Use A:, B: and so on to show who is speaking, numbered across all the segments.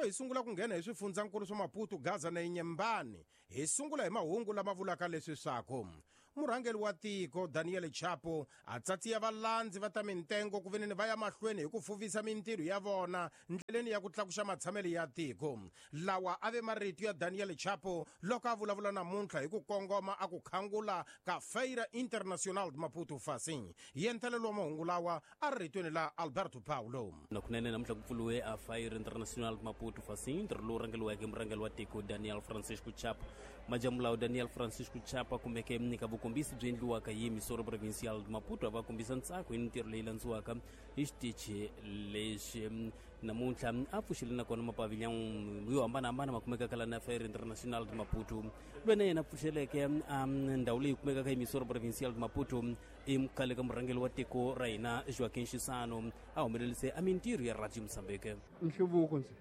A: Loko hi sungula ku nghena hi swifundzankulu swa Maputo, Gaza na Inhambane, hi sungula hi mahungu lama vulaka leswi swaku murhangeri wa tiko Daniel Chapo a tsatsiya valandzi va ta mintengo ku veneni va ya mahlweni hi ku fuvisa mintirho ya vona ndleleni ya ku tlakuxa matshamelo ya tiko. Lawa a ve marito ya Daniel Chapo loko a vulavula namuntlha hi ku kongoma a ku khangula ka Feira Internacional de Maputo Facim. Yentelelo wa mahungu lawa a ri ritweni la Alberto Paulo.
B: Na kunene namuntlha ku pfuriwe a Feira Internacional de Maputo Facim, ntirho lowu rhangeriweke hi murhangeri wa tiko Daniel Francisco Chapo. Majamulawu Daniel Francisco Chapo a kumeke eka vukombisi byi endliwaka hi Emissora Provincial de Maputo a va kombisa ntsako hi mintirho leyi landziwaka hi xitichi lexi. Namuntlha a pfuxile nakona mapavilhão yo hambanahambana ma kumekaka la na Feira Internacional de Maputo. Loyi na yena a pfuxeleke a ndhawu leyi kumekaka Emissora Provincial de Maputo i khale ka murhangeri wa tiko ra hina Joaquim Chissano, a humelelise a mintirho ya Radio Mozambique.
C: Nhluvuko ndzi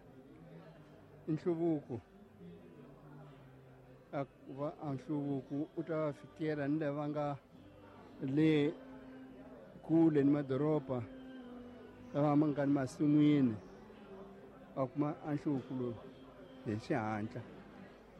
C: nhluvuko a va a nhluvuko u ta fikela ni lava nga le kule ni madoroba lava ma nga ni masin'wini va kuma a nhluvuko lowu hi xihatla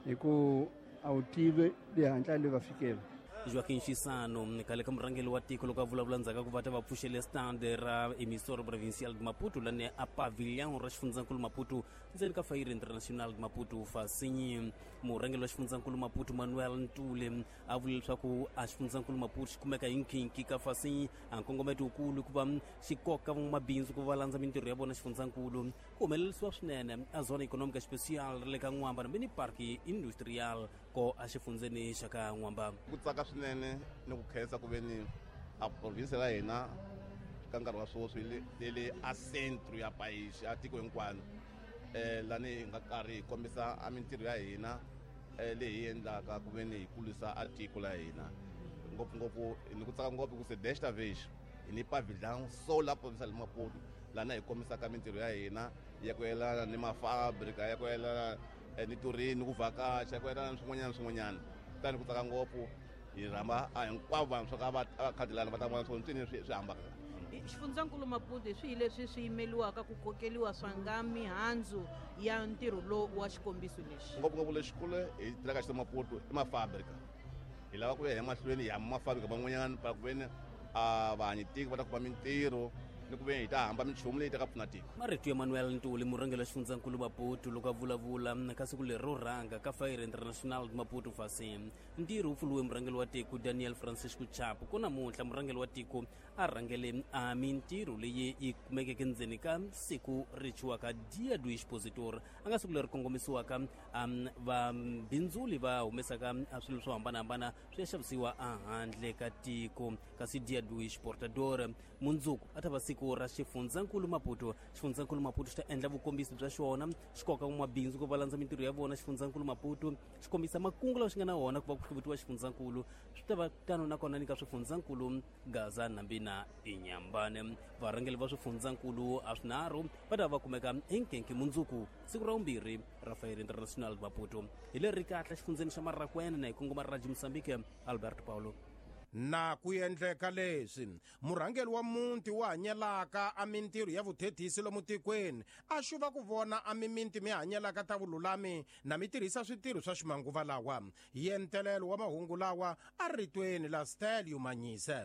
C: hi ku a wu tivi le hatla le va fikela.
B: Joaquim Chissano khale ka murhangeri wa tiko loko a vulavula ndzhaku ka ku va ta va pfuxele stand ra Emissora Provincial de Maputo lani a pavilhão ra xifundzankulu Maputo ndzeni ka Feira Internacional de Maputo Fasinyi. Murhangeri wa xifundzankulu Maputo Manuel Ntule a vule leswaku a xifundzankulu Maputo xi kumeka hi nkhinkhi ka Fasinyi, a nkongometo wukulu ku va xi koka van'wamabindzu ku va landza mintirho ya vona xifundzankulu. Ku humelerisiwa swinene a Zona Econômica Especial ra le ka N'wamba na mini Park Industrial ko a xifundzeni xa ka N'wamba.
D: Ku tsaka swinene ni ku khensa ku ve ni a province la hina ka nkarhi wa sweswi yi le a centro ya país ya tiko hinkwano, lani hi nga karhi hi kombisa a mintirho ya hina leyi hi endlaka ku ve ni hi kulisa a tiko la hina. Ngopfungopfu ni ku tsaka ngopfu ku se desta vez hi ni pavilhão solar provincial de Maputo lana hi kombisaka mintirho ya hina ya ku yelana ni mafabrika, ya ku yelana ni tourism, ni ku vhakacha, ya ku yelana ni swin'wanyana ni swin'wanyana. Kutani ku tsaka ngopfu hi rhamba a hinkwavo vanhu swa ka va khadi lana va ta vona swo ntswini swi hambaka.
E: Xifundzankulu Maputo hi swihi leswi swi yimeliwaka ku kokeliwa swa nga mihandzu ya ntirho lowu wa xikombiso lexi?
D: Ngopfungopfu lexikulu hi tirhaka xi Maputo i mafabrika. Hi lava ku ya hi mahlweni hi hamba mafabrika man'wanyana pa ku veni a vahanyi tiko va ta kuma mintirho ni ku veni hi ta hamba minchumu leyi ta ka pfuna tiko.
B: Marito ya Manuel Ntuli, murhangeri wa xifundzankulu Maputo, loko a vulavula ka siku leri ro rhanga ka Feira Internacional de Maputo Facim. Ntirho wu pfuriwe murhangeri wa tiko Daniel Francisco Chapo. Ku namuntlha murhangeri wa tiko a rhangele a mintirho leyi yi kumekeke ndzeni ka siku ri thyiwaka Dia do Expositor, a nga siku leri kongomisiwaka vabindzuli va humesaka swilo swo hambanahambana swi ya xavisiwa ehandle ka tiko. Kasi Dia do Exportador mundzuku a ta va siku ra xifundzankulu Maputo. Xifundzankulu Maputo xi ta endla vukombisi bya xona, xi koka van'wamabindzu ku va landza mintirho ya vona. Xifundzankulu Maputo xi kombisa makungu lawa xi nga na wona ku va ku hluvutiwa xifundzankulu. Swi ta va tano nakona ni ka swifundzankulu Gaza, Nambi na Inhambane. Varhangeri va swifundzankulu a swinharhu va ta va kumeka hi nkenke mundzuku siku ra vumbirhi ra Feira Internacional de Maputo. Hi leri kahle xifundzeni xa Marracuene na hi kongoma Radio Mozambique, Alberto Paulo.
A: Na ku endleka leswi, murhangeri wa muti wu hanyelaka a mintirho ya vuthethisi lomu tikweni a xuva ku vona a miminti mi hanyelaka ta vululami na mi tirhisa switirho swa ximanguva lawa. Yentelelo wa mahungu lawa a ritweni la Stelio Manyise.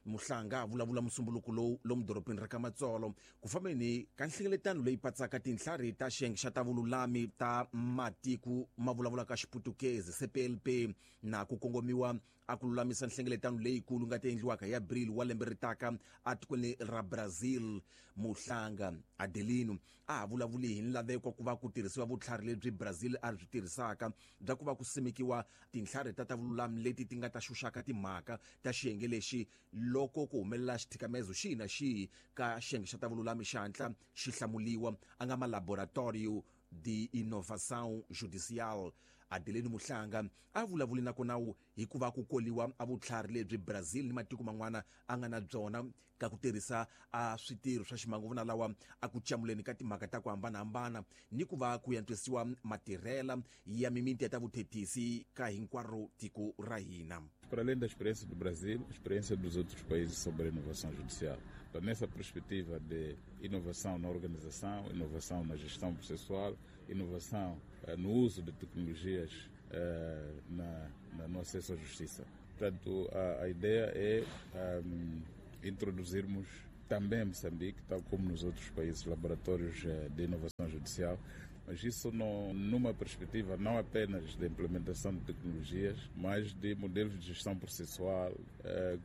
F: Muhlanga a vulavula musumbuluko lowu lomu dorobeni ra ka Matsolo ku fambeni ka nhlengeletano leyi patsaka tintlhari ta xiyenge xa ta vululami ta matiko ma vulavulaka Xiputukezi, CPLP, na ku kongomiwa a ku lulamisa nhlengeletano leyikulu nga ta endliwaka hi Abril wa lembe ri taka etikweni ra Brazil. Muhlanga Adelino a ha vulavuli hi nlaveko ku va ku tirhisiwa vutlhari lebyi Brazil a byi tirhisaka bya ku va ku simekiwa tintlhari ta ta vululami leti ti nga ta xuxaka timhaka ta xiyenge lexi loko ku humelela xithikamezo xihi na xihi ka xiyenge xa ta vululami xi hatla xi hlamuliwa, a nga ma Laboratorio de Inovação Judicial. Adelino Muhlanga a vulavuli na kona hikuva ku koliwa a vutlhari lebyi Brazil ni matiko man'wana a nga na byona ka ku tirhisa a switirho swa ximanguvana lawa a ku camuleni ka timhaka ta ku hambanahambana ni ku va ku yantswisiwa matirhela ya mimiti ya ta vuthethisi ka hinkwaro tiko ra hina.
G: Para além da experiência do Brasil, a experiência dos outros países sobre a inovação judicial. Então, nessa perspectiva de inovação na organização, inovação na gestão processual, inovação no uso de tecnologias no acesso à justiça. Portanto, a ideia é introduzirmos também em Moçambique, tal como nos outros países, laboratórios de inovação judicial, mas isso não, numa perspectiva não apenas de implementação de tecnologias, mas de modelos de gestão processual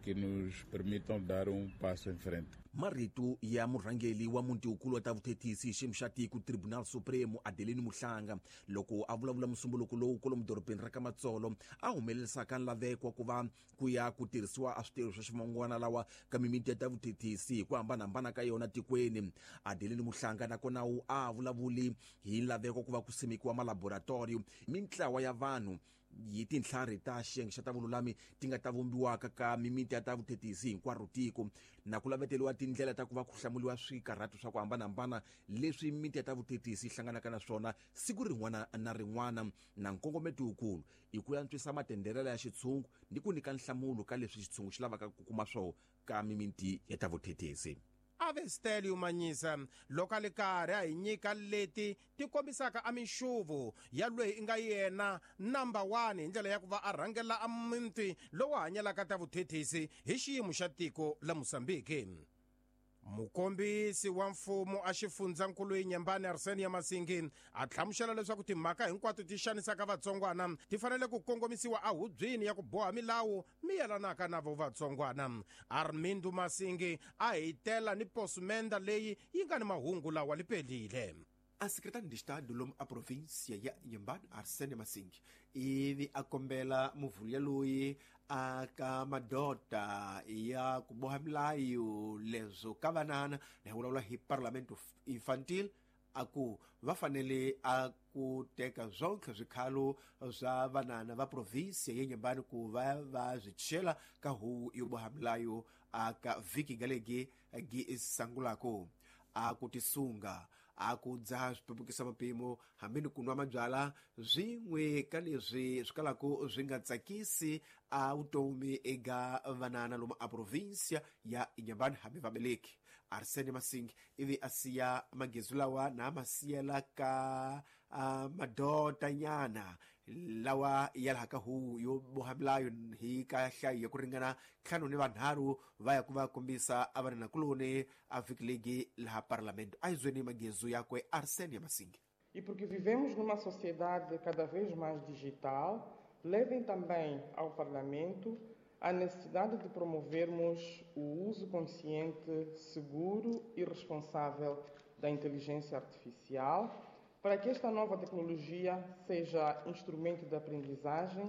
G: que nos permitam dar um passo em frente.
F: Marito ya murhangeli wa muti wukulu wa ta vuthethisi xiyimo xa tiko Tribunal Supremo Adelino Muhlanga loko a vulavula musumbuluko lowu kwalomu dorobeni ra ka Matsolo a humelerisaka nlaveko wa ku va ku ya ku tirhisiwa a switirho swa ximangwana lawa ka mimiti ya ta vuthethisi hi ku hambanahambana ka yona tikweni. Adelino Muhlanga nakona a vulavuli hi nlaveko ku va ku simekiwa malaboratoriyo mintlawa ya vanhu yi tintlhari ta xiyenge xa ta vululami ti nga ta vumbiwaka ka mimiti ya ta vuthethisi hinkwaro tiko na ku laveteriwa tindlela ta ku va ku hlamuriwa swikarhato swa ku hambanahambana leswi mimiti ya ta vuthethisi yi hlanganaka na swona siku rin'wana na rin'wana na nkongometo wukulu i ku antswisa matenderela ya xitshungu ni ku nyika nhlamulo ka leswi xitshungu xi lavaka ku kuma swoho ka mimiti ya ta vuthethisi.
A: Avestelio Manyisa loko a li karhi a hi nyika leti ti kombisaka a minxuvu ya loyi i nga yena number 1 hi ndlela ya ku va a rhangela a muti lowu hanyelaka ta vuthethisi hi xiyimo xa tiko la Mozambique. Mukombisi wa mfumo a xifundzankulu Inhambane Arsenio Masingi a hlamusela leswaku timhaka hinkwato ti xanisaka vatsongwana ti fanele ku kongomisiwa ehubyeni ya ku boha milawu mi yelanaka na vo vatsongwana. Armindo Masingi a hitela ni posumenda leyi yi nga ni mahungu lawa lipelile.
H: A secretário de Estado lomu a província ya Inhambane Arsenio Masingi ivi a kombela muvhulia loyi aka madota ya ku boha milayo leswo ka vanana na hi vulavula hi parlamento infantil a ku va fanele a ku teka zwonke swikhalo swa vanana va província ya Inhambane ku va va swi chela ka huvo yo boha milayo aka vhiki galegi gi sangulako a ku tisunga a ku dzaha swipepukisa mapimo hambi ni ku nwa mabyala swin'we ka leswi swi kalaka swi nga tsakisi a vutomi eka vanana lomu a província ya Inhambane hambi vabeleki. Arsene Masingi ivi a siya magezu lawa na ma siyela ka madotanyana lawa ya laha ka huvo yo boha milayo hi ka nhlayo ya ku ringana 53 va ya ku va kombisa a vananakuloni a vhiki legi laha parlamento. A hi zweni magezu yakwe Arsene Masingi.
I: E porque vivemos numa sociedade cada vez mais digital, levem também ao Parlamento a necessidade de promovermos o uso consciente, seguro e responsável da inteligência artificial, para que esta nova tecnologia seja instrumento de aprendizagem,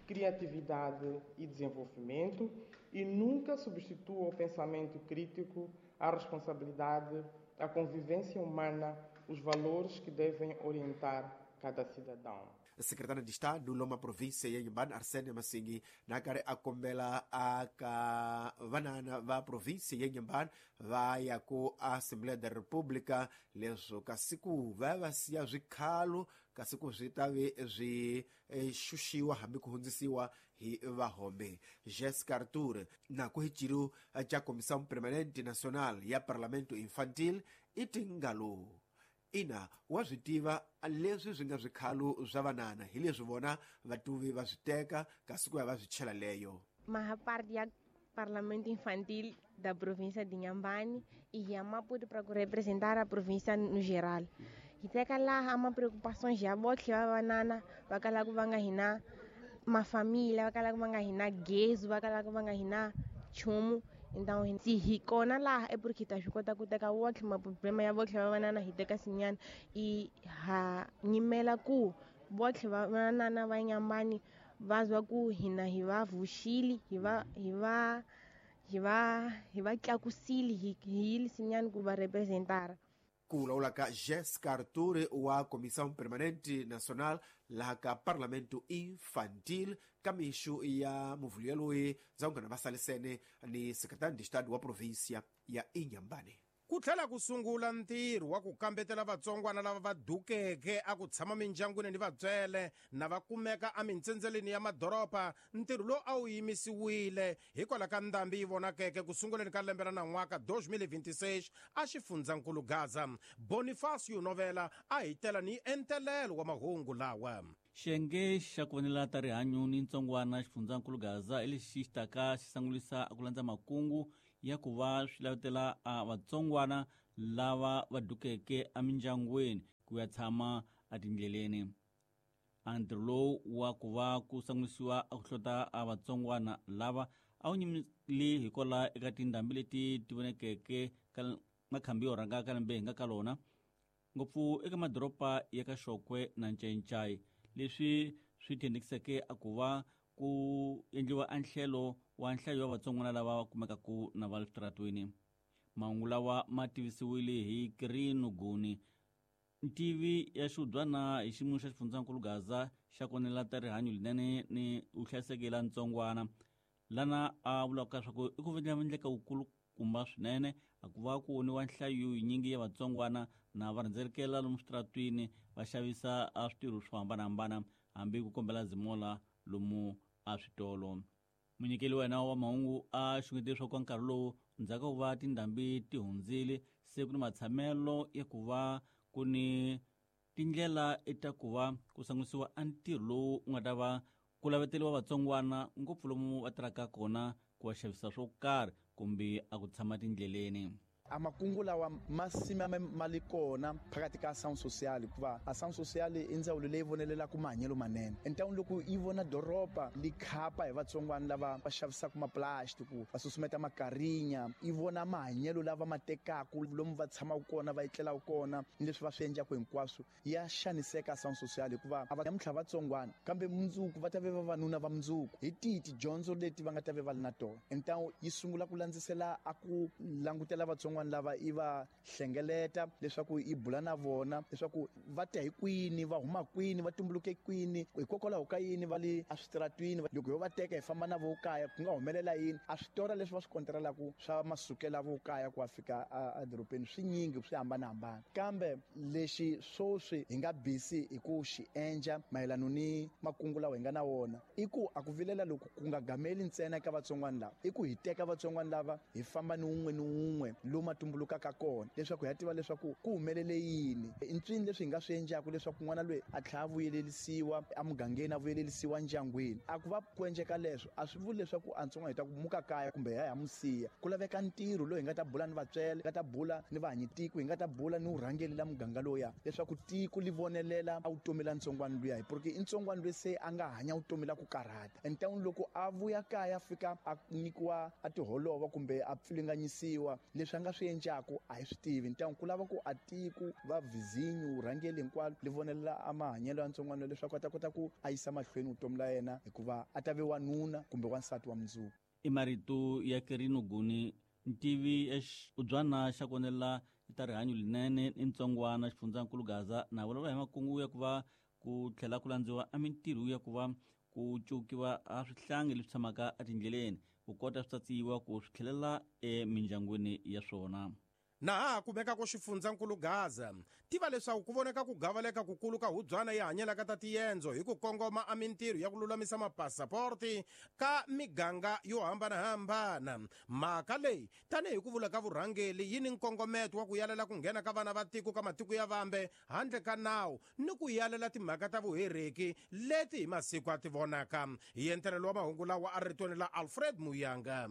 I: criatividade e desenvolvimento e nunca substitua o pensamento crítico, a responsabilidade, a convivência humana, os valores que devem orientar cada cidadão.
H: Secretário de Estado loma província ya Inhambane Arsene Masingi na karhi a kombela aka vanana va província ya Inhambane va ya ku Assembleia da República leswo kasi ku va va siya swikhalo kasi ku swi ta ve swi xuxiwa hambi ku hundzisiwa hi vahombe. Jessica Arthur na ku hi ciro ca Comissão Permanente Nacional ya Parlamento Infantil i tingalo ina wa swi tiva leswi swi nga swikhalo swa vanana hi leswi vona vatuvi va swi teka kasi ku ya va swi chela leyo.
J: Maha parte ya Parlamento Infantil da província de Inhambane e ya Maputo para representar a província no geral. Hi teka laha ma preocupações ya botlhe va vanana va kalaka va nga hina mafamília, va kalaka va nga hina gezu, va kalaka va nga hina nchumu. Então se hi kona laha é porque ta swi kota ku teka wonke maproblema ya botlhe va vanana hi teka sinyana i ha nyimela ku botlhe va vanana va Inhambane va zwa ku hina hi va vuxile hi va tlakusile hi yile sinyana ku va representara.
H: Ku vulavula ka Jessica Artur wa Comissão Permanente Nacional laha ka Parlamento Infantil ka mixo ya muvhulo yaloyi dzangana va salisene ni Secretário de Estado wa província ya Inhambane.
A: Ku tlhela ku sungula ntirho wa ku kambetela vatsongwana lava va dukeke a ku tshama mindyangwini ni vatswele na va kumeka emintsendzeleni ya madoroba. Ntirho lowu a wu yimisiwile hikwalaho ka ndhambi yi vonakeke ku sunguleni ka lembe ra nan'waka 2026 a xifundzankulu Gaza. Bonifacio Novela a hi tela ni entelelo wa mahungu lawa.
K: Xiyenge xa ku vonela ta rihanyo ni ntsongwana xifundzankulu Gaza hi lexi xi taka xi sangulisa ku landza makungu ya ku va swi lavetela a vatsongwana lava va dukeke emindyangwini ku ya tshama etindleleni. A ntirho lowu wa ku va ku sangulisiwa a ku hlota a vatsongwana lava a wu nyimile hikwalaho eka tindhambi leti ti vonekeke ka makhambi yo rhanga ka lembe hi nga ka lona, ngopfu eka madoroba ya ka Xokwe na Ncencai, leswi swi thendekiseke a ku va ku endliwa anhlelo wa nhlayo wa vatsongwana lava va kumekaku na va le switaratweni. Mahungu lawa ma tivisiwile hi Kirino Guni, ntivi ya xiudyana hi xiyimo xa xifundzankulu Gaza xa konela ta rihanyo linene ni vuhlayiseki la ntsongwana, lana a vulaka leswaku i ku endleka wukulukumba swinene a ku va ku voniwa nhlayo yinyingi ya vatsongwana na va rhendzelekela lomu switaratwini va xavisa a switirho swo hambanahambana hambi ku kombela zimola lomu a switolo. Munyikeli wa yena wa mahungu a xungete leswaku ka nkarhi lowu ndzhaku ka ku va tindhambi ti hundzile se ku ni matshamelo ya ku va ku ni tindlela ta ku va ku sangisiwa a ntirho lowu wu nga ta va ku laveteliwa vatsongwana ngopfu lomu va tirhaka kona ku va xavisa swo karhi kumbe a ku tshama tindleleni.
L: A makungu lawa ma sima ma li kona phakathi ka Ação Social, hikuva Ação Social i ndzawulo leyi vonelelaka mahanyelo manene. Entawini loko yi vona doroba li khapa hi vatsongwana lava va xavisaka maplastiki, va susumeta makarinya, yi vona mahanyelo lava ma tekaku lomu va tshamaka kona, va etlelaka kona, ni leswi va swi endlaka hinkwaswo, ya xaniseka Ação Social, hikuva a va namuntlha vatsongwana kambe mundzuku va ta ve vavanuna va mundzuku. Hi tihi tidyondzo leti va nga ta ve va li na tona? Entawu yi sungula ku landzisela a ku langutela vatsongwana lava i va hlengeleta leswaku i bula na vona leswaku va ta hi kwini, va huma kwini, va tumbuluke kwini, hikokwalaho ka yini va le eswitaratwini. Loko yo va teka hi famba na vo kaya ku nga humelela yini? A switora leswi va swi konterelaka swa masukela vo kaya ku ya fika edorobeni swi nyingi, swi hambanahambana. Kambe lexi swoswi hi nga busy hi ku xi endla mayelana ni makungu lawa hi nga na wona i ku a ku vilela loko ku nga gameli ntsena eka vatsongwana lava, i ku hi teka vatsongwana lava hi famba ni wun'we ni wun'we lomu ma tumbulukaka kona leswaku hi ya tiva leswaku ku humelele yini, i ntswini leswi hi nga swi endlaka leswaku n'wana loyi a tlhela a vuyelelisiwa emugangeni, a vuyelelisiwa ndyangwini. A ku va ku endleka leswo a swi vuli leswaku a ntsongwana hi ta ku muka kaya kumbe hi ya hi mu siya. Ku laveka ntirho lowu hi nga ta bula ni vatswele, hi nga ta bula ni vahanyitiko, hi nga ta bula ni vurhangeri la muganga lowuya leswaku tiko li vonelela a vutomi la ntsongwana luya, hi porque i ntsongwana loyi se a nga hanya vutomi la ku karhata. Entawini loko a vuya kaya a fika a nyikiwa a tiholova kumbe a pfilunganyisiwa, leswi a nga swi endlaku a hi swi tivi. Ntangwe ku lava ku a tiko va vizinyu vurhangeri hinkwalo li vonelela a mahanyelo ya ntsongwana leswaku a ta kota ku a yisa mahlweni vutomi la yena, hikuva a ta ve wanuna kumbe wansati wa mundzuku.
K: I marito ya Kerino Guni, ntivi ya ubyana xa konela ta rihanyo linene ni ntsongwana xifundzankulu Gaza, na vulavula hi makungu ya ku va ku tlhela ku landziwa a mintirho ya ku va ku cukiwa a swihlangi leswi tshamaka etindleleni ku kota swi tsatsiwa ku swi tlhelela emindyangwini ya swona.
A: Na ha kumeka ku xifundzankulu Gaza, tiva leswaku ku voneka ku gavaleka kukulu ka hubyana yi hanyelaka ta tiendzo hi ku kongoma a mintirho ya ku lulamisa mapasaporti ka miganga yo hambanahambana. Mhaka leyi tanihi ku vula ka vurhangeli yi ni nkongometo wa ku yalela ku nghena ka vana va tiko ka matiko ya vambe handle ka nawu ni ku yalela timhaka ta vuhereki leti hi masiku a ti vonaka. Hi entelelo wa mahungu lawa a ritweni la Alfred Muyanga.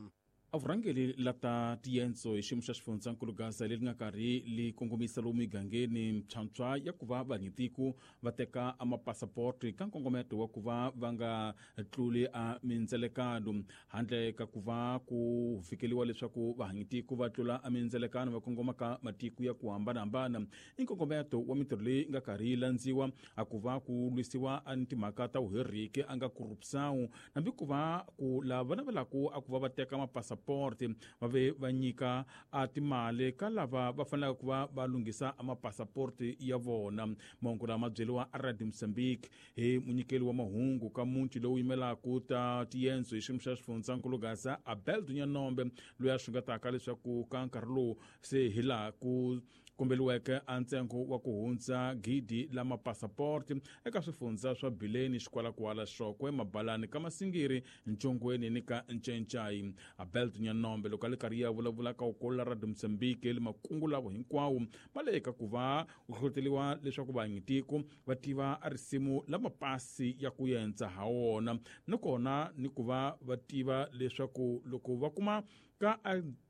G: A vurhangeri la ta tiendzo hi xiyimo xa xifundzankulu Gaza leri nga karhi li kongomisa lomu migangeni mphyamphya ya ku va vanyitiko va teka a mapasaporti ka nkongometo wa ku va va nga tluli a mindzelekano, handle ka ku va ku fikeliwa leswaku vahanyitiko va tlula a mindzelekano va kongoma ka matiko ya ku hambanahambana. I nkongometo wa mintirho leyi nga karhi yi landziwa a ku va ku lwisiwa a ni timhaka ta vuheriki a nga corruption, hambi ku va ku lava navelaka a ku va va teka mapasaporti mapassaporti va ve va nyika a timali ka lava va fanelaka ku va va lunghisa mapassaporti ya vona. Mahungu lama byeriwa a Radio Mozambique hi munyikeli wa mahungu ka muti lowu yimelaka ta tiyendzo hi xiyimo xa xifundzankulu Gaza, Abel Dunyanombe, loyi a xungetaka leswaku ka nkarhi lowu se hi laha ku kombeliweke a ntsengo wa ku hundza 1000 la mapassaporti eka swifundza swa Bileni, Xikwalakwala, Xokwe, Mabalani, ka Masingiri, Ntshongweni ni ka Ncencai. Abel Dunyanombe loko a le karhi ya vulavula ka ukolola Radio Mozambique le makungu lavo hinkwawo ma le ka ku va ku hlohloteliwa leswaku vanyitiko va tiva a risimu la mapasi ya ku yendza ha wona, nakona ni ku va va tiva leswaku loko va kuma ka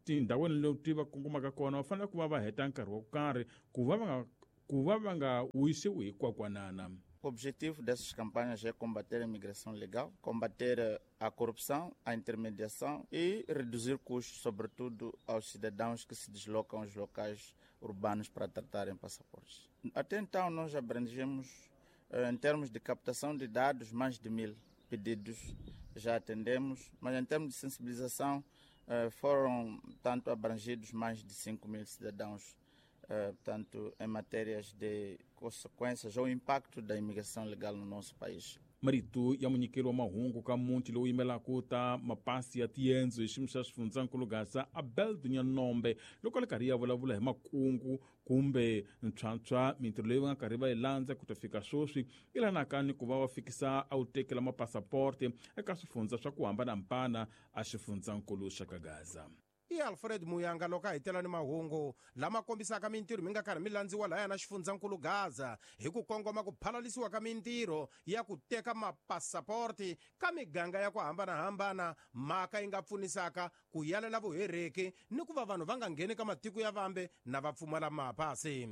G: tindhawini leti va kongomaka kona va fanele ku va va heta nkarhi wo karhi ku va va nga wisiwi hi kwakwanana.
M: O objetivo dessas campanhas é combater a imigração legal, combater a corrupção, a intermediação e reduzir custos, sobretudo aos cidadãos que se deslocam aos locais urbanos para tratarem passaportes. Até então, nós abrangemos, em termos de captação de dados, mais de 1000 pedidos já atendemos, mas em termos de sensibilização, foram tanto abrangidos mais de 5.000 cidadãos, portanto, em matérias de consequências ou impacto da imigração legal no nosso país.
G: Marito ya munyikeli wa mahungu ka muti lowu yimelaka ta mapasi ya tiyendzo hi xiyimo xa xifundzankulu Gaza, Abel Dunyanombe, loko a le karhi ya vulavula hi makungu kumbe ntshwantshwa mintirho leyi va nga karhi va yi landza ku ta fika sweswi yi lanaka ni ku va va fikisa a wu tekela mapassaporti eka swifundza swa ku hambanahambana a xifundzankulu xa ka Gaza.
A: I Alfred Muyanga loko a hitela ni mahungu lama kombisaka mintirho mi nga karhi mi landziwa lahaya na xifundzankulu Gaza hi ku kongoma ku phalalisiwa ka mintirho ya ku teka mapassaporti ka miganga ya ku hambanahambana, mhaka yi nga pfunisaka ku yalela vuhereki ni ku va vanhu va nga ngheni ka matiko ya vambe na va pfumala mapasi.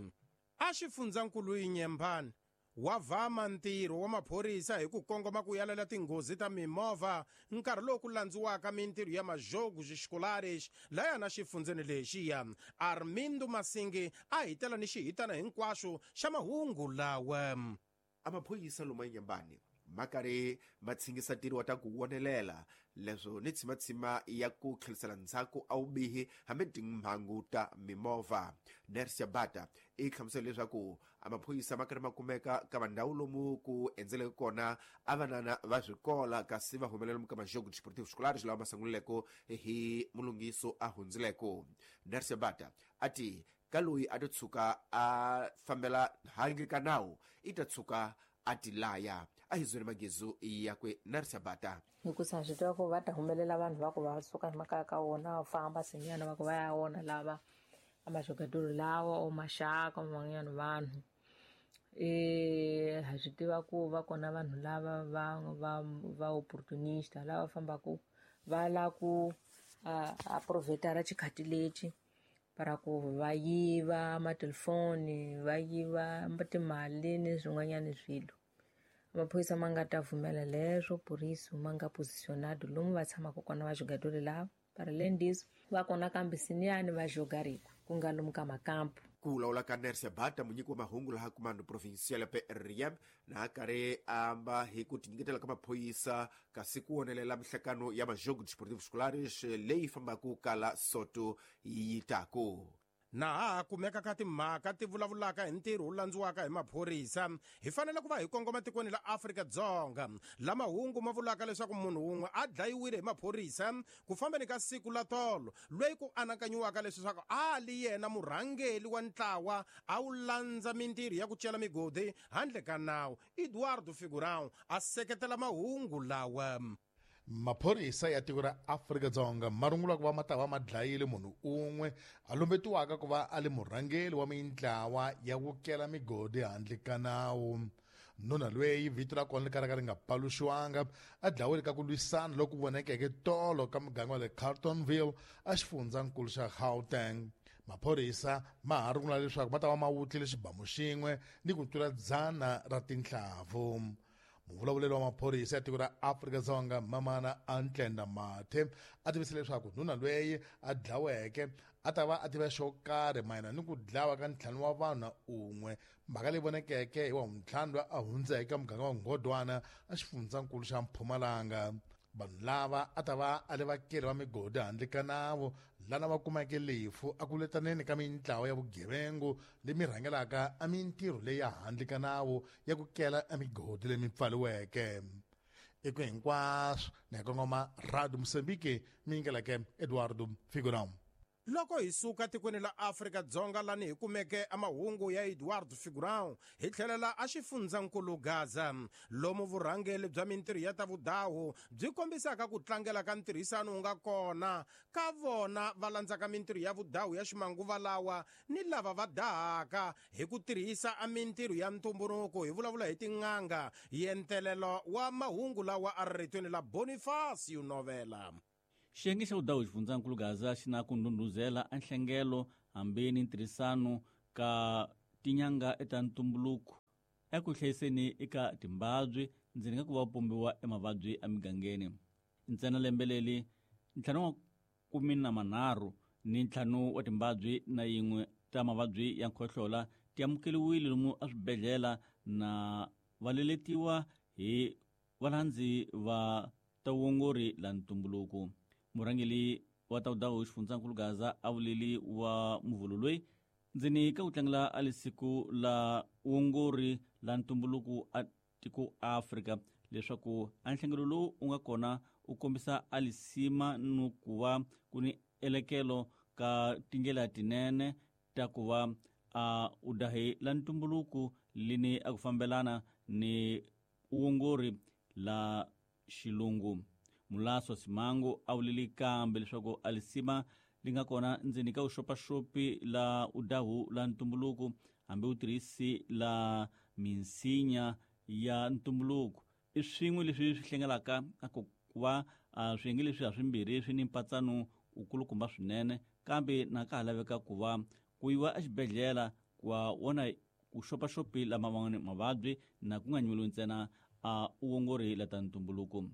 A: A xifundzankulu Inyembani wa vhama ntirho wa maphorisa hi ku kongoma ku yalela tinghozi ta mimovha nkarhi lowu ku landziwaka mintirho ya majogos escolares laya na xifundzeni lexiya. Armindo Masingi a hitela ni xihitana hinkwaxo xa mahungu lawa.
H: Amaphoyisa loma Inyambani ma karhi ma tshingisa ntirho wa ta ku wonelela leswo ni tshimatshima ya ku tlherisela ndzhaku a wubihi hambi timhangu ta mimovha. Nersia Bata i hlamusela leswaku amaphorisa ma karhi ma kumeka ka vandhawu lomu ku endzeleke kona a vanana va swikola, kasi va humelela lomu ka majogo desportivo escolares lawa ma sungulileko hi mulungiso a hundzileko. Nersia Bata a ti ka loyi a to tshuka a fambela handle ka nawu i ta tshuka a ti laya. A hi zwele magezu yakwe Narsia Bata.
N: Hikusa swi tiva ku va ta humelela vanhu va ku va suka hi makaya ka wona va famba sinyana va ku va ya wona lava a majogadoro lawa o maxaka man'wanyana vanhu. Ha swi tiva ku va kona vanhu lava va opportunista lava fambaka va la ku a provetara xikhati lexi para ku va yiva matelefoni, va yiva timali ni swin'wanyana swilo. Maphorisa ma nga ta pfumela leswo, poriso ma nga positionado lomu va tshamaka kona va jogadori lava. Para além disso, va kona kambe siniyani va jogariko ku nga lomu ka makampu.
H: Ku vulavula ka Nersia Bata, munyiki wa mahungu laha Comando Provincial ya PRM, na karhi amba hi ku tinyiketela ka maphorisa kasi ku wonelela mihlakano ya majogo desportivo escolares leyi fambaka kala Soto yi taku.
A: Na ha kumeka ka timhaka ti vulavulaka hi ntirho wu landziwaka hi maphorisa, hi fanele ku va hi kongoma tikweni la Afrika-Dzonga la mahungu ma vulaka leswaku munhu wun'we a dlayiwile hi maphorisa ku fambeni ka siku la tolo, loyi ku anakanyiwaka leswaku a li yena murhangeli wa ntlawa a wu landza mintirho ya ku cela migodi handle ka nawu. Eduardo Figurão a seketela mahungu lawa.
O: Maphorisa ya tiko ra Afrika-Dzonga ma rungula ku va ma ta va ma dlayile munhu un'we a lumbetiwaka ku va a li murhangeri wa mintlawa ya ku kela migodi handle ka nawu. Nuna loyi vito ra kona ri karhi ri nga paluxiwanga a dlawile ka ku lwisana loku vonekeke tolo ka muganga wa le Carltonville a xifundzankulu xa Gauteng. Maphorisa ma ha rungula leswaku ma ta va ma wutlile xibamu xin'we ni ku tlula 100 ra tinhlavu. Muvulavuleri wa maphorisa ya tiko ra Afrika-Dzonga Mamana Antlenda Mathe a tivise leswaku nuna loyi a dlaweke a ta va a tiva xo karhi mayelana ni ku dlawa ka 5 wa vanhu na un'we, mhaka leyi vonekeke hi wa ntlhanu loyi a hundzeke ka muganga wa Ngodwana a xifundzankulu xa Mpumalanga. Vanhu lava a ta va a le vakeli va migodi handle ka nawu lana va kumeke lefu a ku letaneni ka mintlawa ya vugevengu lemi rhangelaka a mintirho leyi ya handle ka nawu ya ku kela emigodi lemi pfaliweke. Eku hinkwaswo ni ya kongoma Radio Mozambique mi yingeleke Eduardo Figurão.
A: Loko hi suka tikweni la Afrika-Dzonga lani hi kumeke amahungu ya Eduardo Figurão, hi tlhelela a xifundzankulu Gaza, lomu vurhangeli bya mintirho ya ta vudahu byi kombisaka ku tlangela ka ntirhisano wu nga kona ka vona va landzaka mintirho ya vudahu ya ximanguva lawa ni lava va dahaka hi ku tirhisa a mintirho ya ntumbuluko. Hi vulavula hi tin'anga. Yentelelo wa mahungu lawa a ri ritweni la Bonifacio Novela.
K: Xiyenge xa vudahu xifundzankulu Gaza xi na ku ndhundhuzela a nhlengelo hambi ni ntirhisano ka tinyanga eta ntumbuluko eku hlayiseni eka timbabyi ndzeni ka ku va pombiwa emavabyi emigangeni. Ntsena lembe leli 5 wa ni 5 wa timbabyi na yin'we ta mavabyi ya nkhohlola ti amukeliwile lomu eswibedhlele na va leletiwa hi valandzi va ta vuongori la ntumbuluko. Murhangeli wa ta vudahu xifundzankulu Gaza a vuleli wa muvhulu loyi ndzeni ka ku tlangela a lisiku la vuongori la ntumbuluko a tiko Afrika leswaku a nhlengelo lowu wu nga kona u kombisa a lisima ni ku va ku ni elekelo ka tindlela tinene ta ku va a udahi la ntumbuluko lini a ku fambelana ni vuongori la xilungu. Mulaso Simango a vuleli kambe leswaku a lisima li nga kona ndzeni ka vuxopaxopi la udahu la ntumbuluko hambi u tirhisi la minsinya ya ntumbuluko i swin'we leswi swi hlengelaka a ku va swiyenge leswi ha swimbirhi swi ni mpatsano wukulukumba swinene, kambe na ka ha laveka ku va ku yiwa exibedhlele ku va vona ku xopaxopi lama van'wani mavabyi na ku nga nyimeliwi ntsena a uongori la ta ntumbuluko.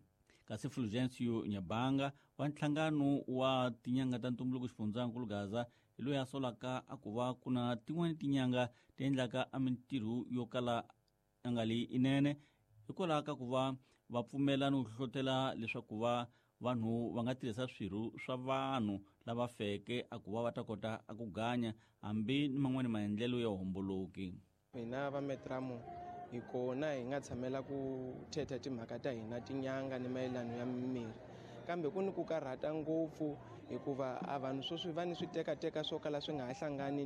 K: Kasi Fulgencio Nyabanga wa nhlangano wa tinyanga ta ntumbuluko xifundzankulu Gaza hi loyi a solaka a ku va ku na tin'wani tinyanga ti endlaka a mintirho yo kala a nga li inene hikwalaho ka ku va va pfumela ni ku hlohlotela leswaku va vanhu va nga tirhisa swirho swa vanhu lava feke a ku va va ta kota a ku ganya hambi ni man'wani maendlelo ya homboloki.
P: Hina va Metramo hi kona hi nga tshamela ku thetha timhaka ta hina tinyanga ni mayelano ya mimirhi, kambe ku ni ku karhata ngopfu hikuva a vanhu sweswi va ni switekateka swo kala swi nga ha hlangani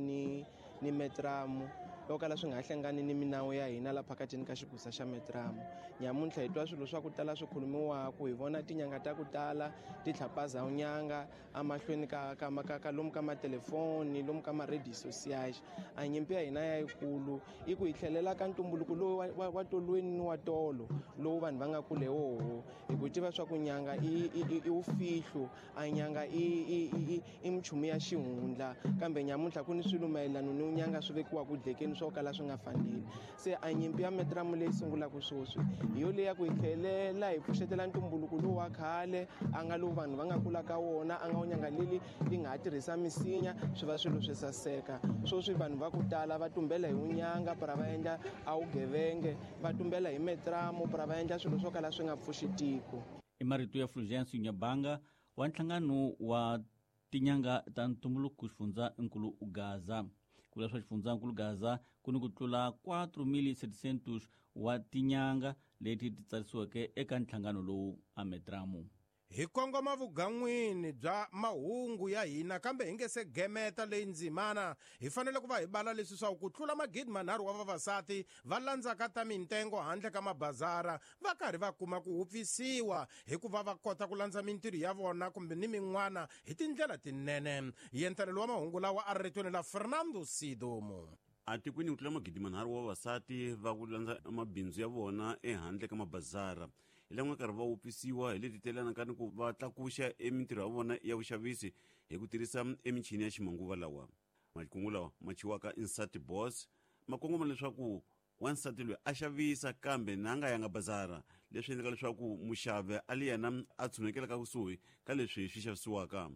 P: ni Metramo, swo kala swi nga ha hlangani ni minawu ya hina la phakatini ka xigusa xa Metramo. Nyamuntlha hi twa swilo swa ku tala swi khulumiwaku, hi vona tinyanga ta ku tala ti tlhapaza nyanga emahlweni ka lomu ka matelefoni, lomu ka ma-radio sociais. A nyimpi ya hina ya yikulu i ku hi tlhelela ka ntumbuluko lowu wa tolweni ni wa tolo lowu vanhu va nga kule woho, hi ku tiva swa ku nyanga i wufihlo, a nyanga i minchumu ya xihundla. Kambe nyamuntlha ku ni swilo mayelano ni nyanga swi vekiwaka dlekeni swo kala swi nga faneli. Se a nyimpi ya Metramo leyi sungulaka sweswi hi yo leya ku hi tlhelela hi pfuxetela ntumbuluko lowu wa khale a nga lowu vanhu va nga kula ka wona, a nga wu nyanga leli li nga ha tirhisa misinya swi va swilo swi saseka. Sweswi vanhu va ku tala va tumbela hi unyanga para va endla a wugevenge, va tumbela hi Metramo para va endla swilo swo kala swi nga pfuxi tiko.
K: I marito ya Fulgencio Nyabanga wa nhlangano wa tinyanga ta ntumbuluko xifundzankulu Gaza. Ku vula swa xifundzankulu Gaza ku ni ku tlula 4700 wa tinyanga leti ti tsarisiweke eka nhlangano lowu a Metramo.
A: Hi kongoma vugan'wini bya mahungu ya hina, kambe hi nge se gemeta leyi ndzimana hi fanele ku va hi bala leswi swa ku tlula 3000 wa vavasati va landzaka ta mintengo handle ka mabazara va karhi va kuma ku wupfisiwa hikuva va kota ku landza mintirho ya vona kumbe ni min'wana hi tindlela tinene. Yentelelo wa mahungu lawa a ri ritweni la Fernando Sidomo.
Q: Atikweni ku tlula 3000 wa vavasati va ku landza mabindzu ya vona ehandle ka mabazara hi lan'we karhi va wupfisiwa hi leti telanaka ni ku va tlakuxa emintirho ya vona ya vuxavisi hi ku tirhisa emichini ya ximanguva lawa. Makungu lawa ma chiwaka Insati Boss ma kongoma leswaku wansati loyi a xavisa kambe na nga yanga bazara, leswi endlaka leswaku muxavi a li yena a tshunekelaka kusuhi ka leswi swi xavisiwaka.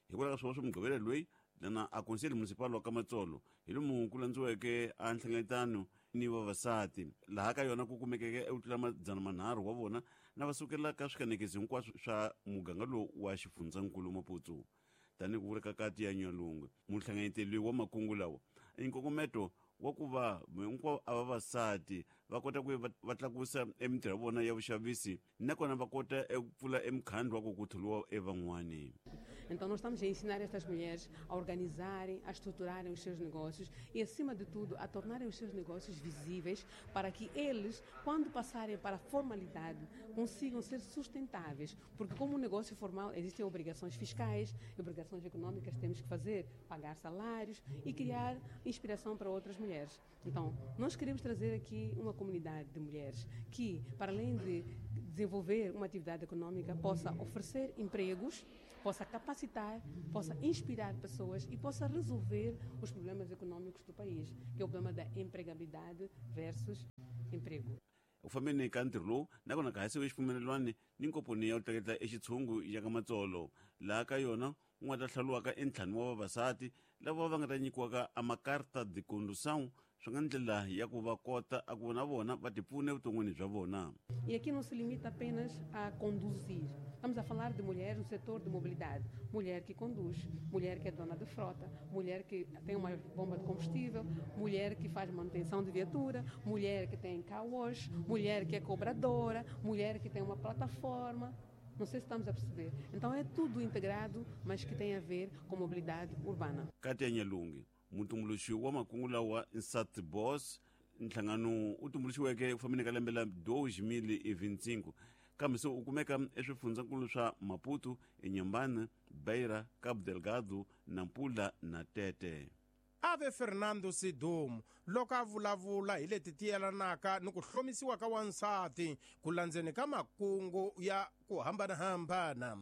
Q: Hikwalaho ka swona swa Mugqivela loyi Lana a conselho municipal wa Kamatsolo hi lomu ku landziweke a nhlengeletano ni vavasati laha ka yona ku kumekeke eku tlula 300 wa vona na va sukela ka swikanekisi hinkwaswo swa muganga lowu wa xifundzankulu Maputo. Tanihi ku vula ka kati ya Nyalungwe, muhlanganyeteli wa makungu lawa i nkongometo wa ku va hinkwavo a vavasati va kota ku va tlakusa emintirho ya vona ya vuxavisi nakona va kota eku pfula emukhandlu wa ku ku tholiwa evan'wani.
R: Então, nós estamos a ensinar estas mulheres a organizarem, a estruturarem os seus negócios e, acima de tudo, a tornarem os seus negócios visíveis para que eles, quando passarem para a formalidade, consigam ser sustentáveis. Porque, como um negócio formal, existem obrigações fiscais, obrigações econômicas que temos que fazer, pagar salários e criar inspiração para outras mulheres. Então, nós queremos trazer aqui uma comunidade de mulheres que, para além de desenvolver uma atividade econômica, possa oferecer empregos, possa capacitar, possa inspirar pessoas e possa resolver os problemas econômicos do país, que é o problema da empregabilidade versus emprego.
Q: U fambeni ka ntirho lowu nakona ka hasiwe xipfumelelwani ni nkomponi ya ku tleketla exitshungu ya ka Matsolo, laha ka yona ku nga ta hlawuriwaka entlhanu wa vavasati lava va nga ta nyikiwaka a makarta de condução, swi nga ndlela ya ku va kota a ku na vona va tipfuna evuton'wini bya vona.
R: E aqui não se limita apenas a conduzir. Estamos a falar de mulheres no setor de mobilidade. Mulher que conduz, mulher que é dona de frota, mulher que tem uma bomba de combustível, mulher que faz manutenção de viatura, mulher que tem car wash, mulher que é cobradora, mulher que tem uma plataforma. Não sei se estamos a perceber. Então é tudo integrado, mas que tem a ver com mobilidade urbana.
Q: Katia Nyalungi, mutumbuluxi wa makungu lawa Nsati Boss, nhlangano u tumbuluxiweke ku fambeni ka lembe la 2025, kambe se u kumeka eswifundzankulu swa Maputo, eNyambane, Beira, Cabo Delgado, Nampula na Tete.
A: Ave Fernando Sidumo loko a vulavula hi leti ti yelanaka ni ku hlomisiwa ka wansati ku landzeni ka makungu ya ku hambanahambana.